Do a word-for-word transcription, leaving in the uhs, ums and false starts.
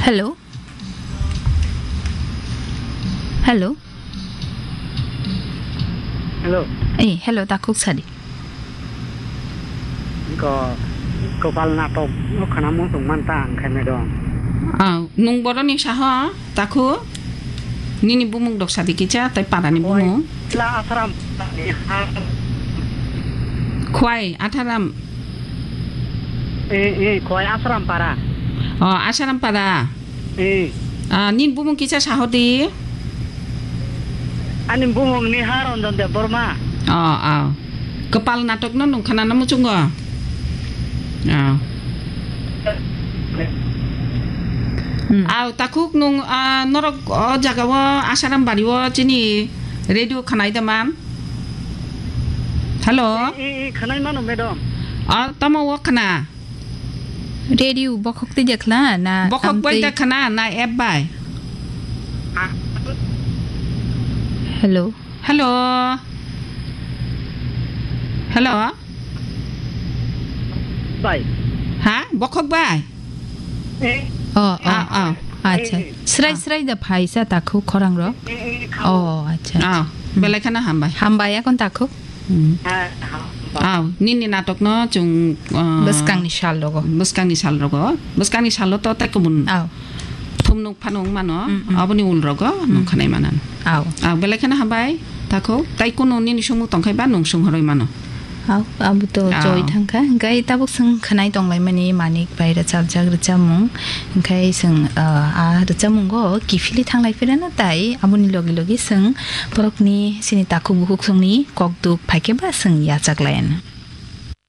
Hello. Hello. Hello. Eh, hello, takhuk sadi. Ko, kopal natok no khana mo tong man ta ang khaime dong. Ah, nung boroni saho, takhuk? Nini bumung dok sadi kicha, tai parani bumung. La asram. Khwai, atharam. Eh, eh, khwai asram para. Oh, asram para. Eh. Ah, nini bumung kicha sahodi? Ani bumung ni ha Ranjan Debbarma. Oh, oh. Kopal natok no nung khana na muchungo. Oh. Hmm. Aw, takhuk nung, ah, norok o jaga o Asaram bari o chini radio khanai da man? Hello? Eh, eh, eh, khanai mano, madam. Ah, tamo o khana? Radio bokhok tei jakla na Bokhok bai amtwi? Da khana na app bai? Ah. Hello. Hello. Hello. Bai. Ha? Bokhok bai? Eh. Oh, oh. Ah, ah. Acha. Eh, eh. Srai, ah, srai da phaisa takhuk khorang ro. Eh, eh, eh, khao. Oh, acha. Ah, hmm, belai khana hambai. Hambai akon takhuk. Hmm. Ah, hambai. Ah, nini natok no chung, ah, bwskangni sal rogo. Bwskangni sal rogo. Bwskangni salo to tai kubun. Ah. Thumnuk phanung mano, mm, mm, aboni ulrogo, mm, nung khanai manan. Aw. Aw, belai kheno hambai, takhuk. Tai kunu nini sungmung tongkhai ba nung sung horoi mano. Aw, abo to, aw, choi thangkha. Hingkai tabuk sung khanai tonglaimani Manik bai rwchapjak rwchapmung. Hingkai sung, ah, a rwchapmungo kiphilwi thanglai phirano tai aboni logi logi sung borokni sini takhuk bukhuk sungni kokduk phaikhe ba sung yachaklayan.